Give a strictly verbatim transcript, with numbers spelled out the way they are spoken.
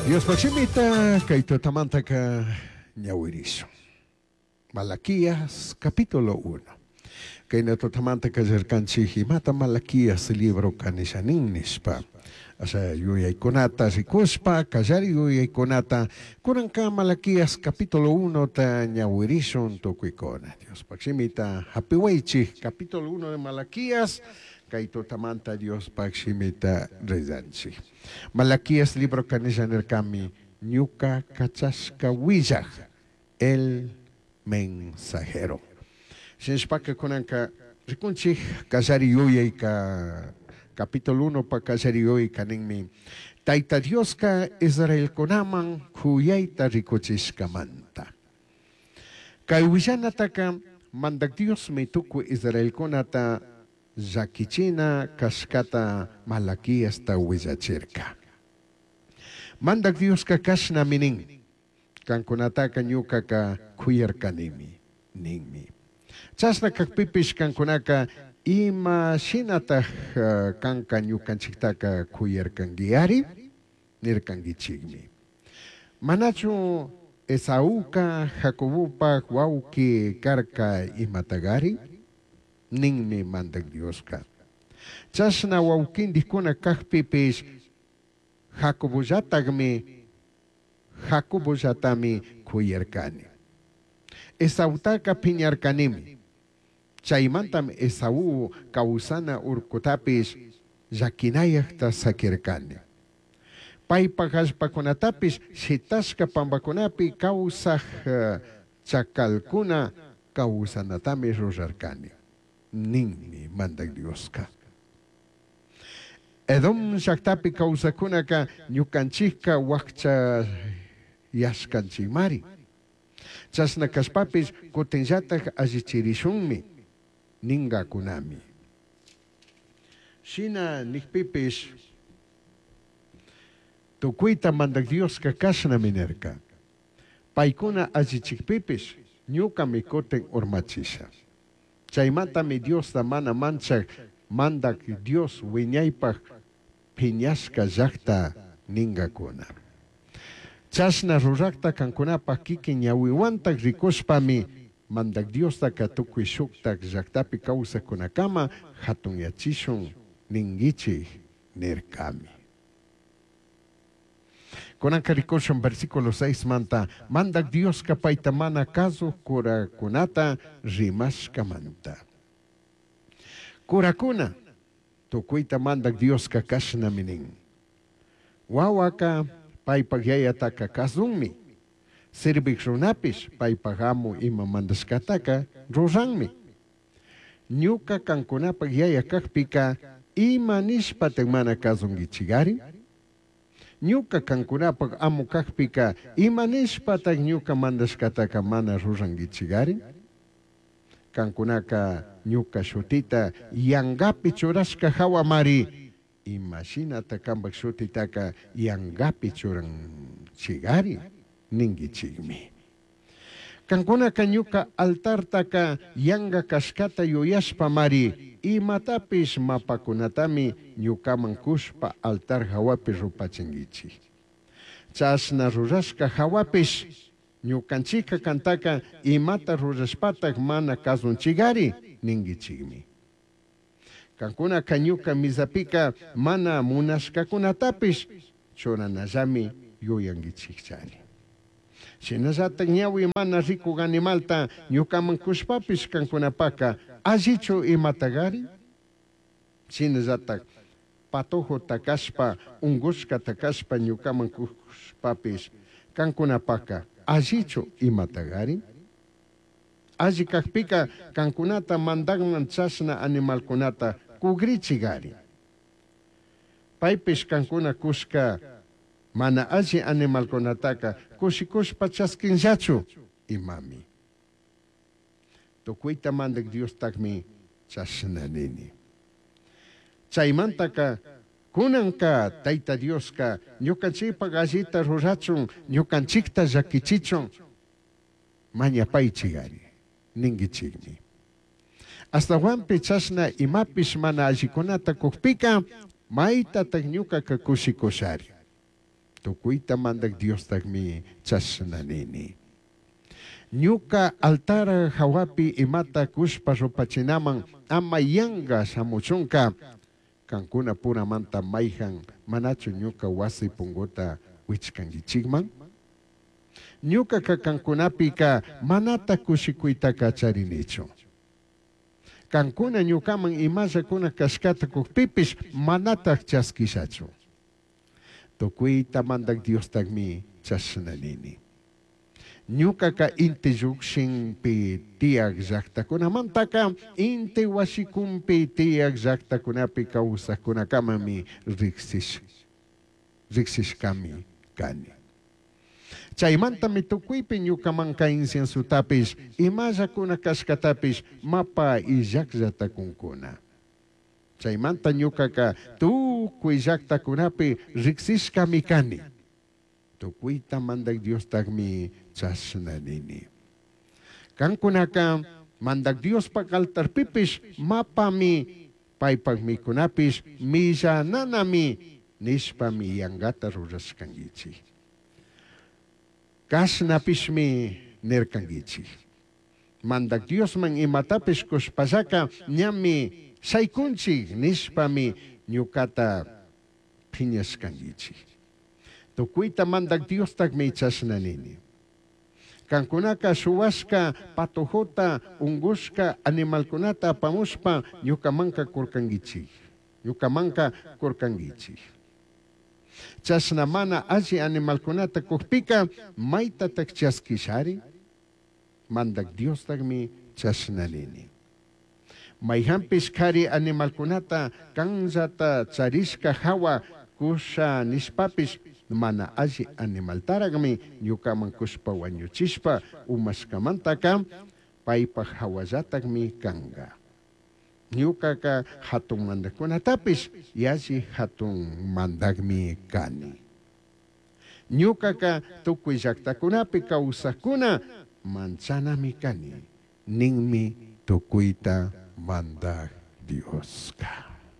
Diospaj shimita kay tutamantaka ñawirishun. Malaquías capítulo uno. Kayna tutamanta kallarkanchik imata Malaquías libro nishanin nishpa. Asha yuyaykunata rikushpa kallari yuyaykunata kunanka Malaquías capítulo uno ta ñawirishun tukuykuna. Diospaj shimita hapiwaychik capítulo uno de Malaquías kay tutamanta Diospaj shimita rezanchik. Malaquías libro kanisha nirkami ñuka kachashka willaj el mensajero. Shinashpaka kunanka rikunchik kallari yuyayka capítulo uno pa kallari yuyayka ninmi Tayta Dioska Israelkunaman kuyayta rikuchishkamanta. Kay willanataka mandak Diosmi tukuy Israelkunata llakichina kashkata Malaquiasta willachirka. Mandak Dioska kashnami nin, kankunataka ñukaka kuyarkanimi ninmi. Chashna kakpipish kankunaka ima shinataj kanka ñukanchiktaka kuyarkankiyari nirkankichikmi. Manachu Esauka Jacobopaj wawki karka imatagari ninmi mandak Dioska. Chashna wawkindikkuna kakpipish Jacobollatakmi Jacobollatami kuyarkani. Esautaka piñarkanimi. Chaymantam Esaú kawsana urkutapish llakinayakta sakirkani. Paypaj allpakunatapish shitashka pampakunapi kawsaj chakalkuna kawsanatami rurarkani. Ninmi mandak Dioska. Edom llaktapi kawsakunaka ñukanchikka wakcha yashkanchikmari. Chashna kashpapish kutinllatak allichirishunmi ningakunami. Shina nikpipish tukuyta mandak Dioska kashnami nirka. Paykuna allichikpipish ñukami kutin urmachisha. Chaymantami Diosta mana manchak mandak Dios wiñaypaj piñashka llakta ningakuna. Chashna rurakta kankunapaj kikin ñawiwantak rikushpami mandak Diostaka tukuy shuktak llaktapi kawsakkunakama hatunyachishun ninkichik nirkami. Kunanka rikushun versículo seis manta mandak Dioska payta mana kasuj kurakunata rimashkamanta. Kurakuna tukuyta mandak Dioska kashnami nin. Wawaka paypaj yayataka kasunmi. Sirvik runapish paypaj amu ima mandashkataka ruranmi. Ñuka kankunapaj yaya kakpika ima nishpatak mana kasunkichikari? Ñuka kankunapaj amu kakpika ima nishpatak ñuka mandashkataka mana rurankichikari? Kankunaka ñuka shutita yangapi churashka hawamari ima shinata kanpak shutitaka yangapi churanchikari ninkichikmi. Kankunaka ñuka altartaka yanga kashkata yuyashpamari imatapish mapakunatami ñukaman kushpa altar hawapi rupachinkichik. Chashna rurashka hawapish ñukanchika kantaka imata rurashpatak mana kasunchikari ninkichikmi. Kankunaka ñuka misapika mana munashkakunatapish churanallami yuyankichikchari. Shinallatak ñawi mana rikuk animalta ñukaman kushpapish kankunapaka allichu imatagari? Shinallatak patojo takashpa ungushka takashpa ñukaman kushpapish kankunapaka allichu imatagari? Alli kakpika kankunata mandakman chashna animalkunata kugrichigari. Paypish kankuna kushka mana alli animalkunataka kushikushpa chaskinllachu imami. Tukuyta mandak Diostakmi chashna nini. Chaymantaka kunanka Tayta Dioska ñukanchikpak allita rurachun ñukanchikta llakichichun mañapaychikari ninkichikmi. Astawanpi chashna imapish mana allikunata kukpika maytatak ñukaka kushikushari. Tucuita Mandaj Diostajmi chashna nini. Ñuca altar jahuapi imata cushpa rupachinaman ama yanga shamuchunca, cancuna puramanta maijan manachu ñuca huasi punguta huichcanguichijman? Ñucaca cancunapica manata cushicuitaca charinichu. Cancuna ñucaman imalla cuna cashcata cujpipish manataj chasquishachu. Tucuita Mandaj Diostajmi chashna nini. Ñucaca inti llujshinpi tiyaj llajtacunamantaca inti huashicunpi tiyaj llajtacunapi causajcunacamami rijsish, rijsishcami cani. Chaimantami tucuipi ñucamanca inciensotapish, imalla cuna cashcatapish mapa illajllata cuncuna. Chaimanta ñucaca tucui llajtacunapi rijsishcami cani. Tucuita Mandaj Diostajmi chashna nini. Cancunaca Mandaj Diospaj altarpipish mapami, paipaj micunapish millananami nishpami yangata rurashcanguichij. Cashnapishmi nircanguichij. Mandaj Diosman imatapish cushpallaca ñami shaicunchij nishpami ñucata phiñashcanguichij. Tucuita Mandaj Diostajmi chashna nini. Cancunaca shuhuashca patojota, ungushca animalcunata apamushpa ñucamanca curcanguichij. Ñucamanca curcanguichij. Chashna mana alli animalcunata cujpica maitataj chasquishari? Mandaj Diostajmi chashna nini. Maijanpish cari animalcunata canllata charishca jahua cusha nishpapish mana alli animaltarajmi ñucaman cushpa huañuchishpa umashcamantaca paipaj jahuallatajmi canga. Ñucaca jatun mandajcunatapish yalli jatun mandajmi cani. Ñucaca tucui llajtacunapi causajcuna manchanami cani, ninmi tucuita Mandaj Diosca.